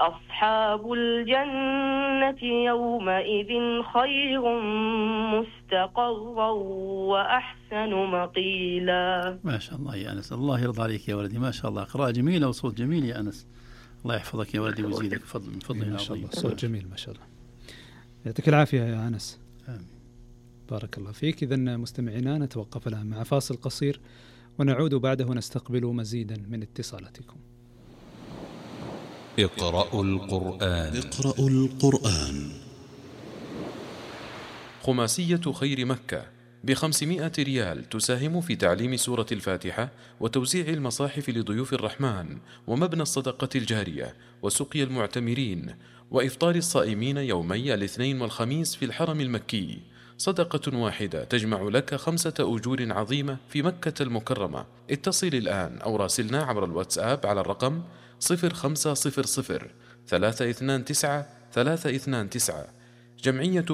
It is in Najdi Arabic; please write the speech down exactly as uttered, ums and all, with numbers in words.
أصحاب الجنة يومئذ خير مستقرا وأحسن مقيلا. ما شاء الله يا أنس، الله يرضى عليك يا ولدي، ما شاء الله، قراءة جميلة وصوت جميل يا أنس، الله يحفظك يا ولدي ويزيدك فضل من فضله ما شاء الله، صوت جميل ما شاء الله، يعطيك العافية يا أنس. آمين. بارك الله فيك. إذن مستمعينا نتوقف الآن مع فاصل قصير ونعود بعده نستقبل مزيدا من اتصالاتكم. اقرأوا القرآن. اقرأوا القرآن. خماسية خير مكة بخمسمائة ريال تساهم في تعليم سورة الفاتحة وتوزيع المصاحف لضيوف الرحمن ومبنى الصدقة الجارية وسقي المعتمرين وإفطار الصائمين يومي الاثنين والخميس في الحرم المكي. صدقة واحدة تجمع لك خمسة أجور عظيمة في مكة المكرمة. اتصل الآن أو راسلنا عبر الواتساب على الرقم صفر خمسة صفر صفر ثلاثة اثنان تسعة ثلاثة اثنان تسعة. جمعية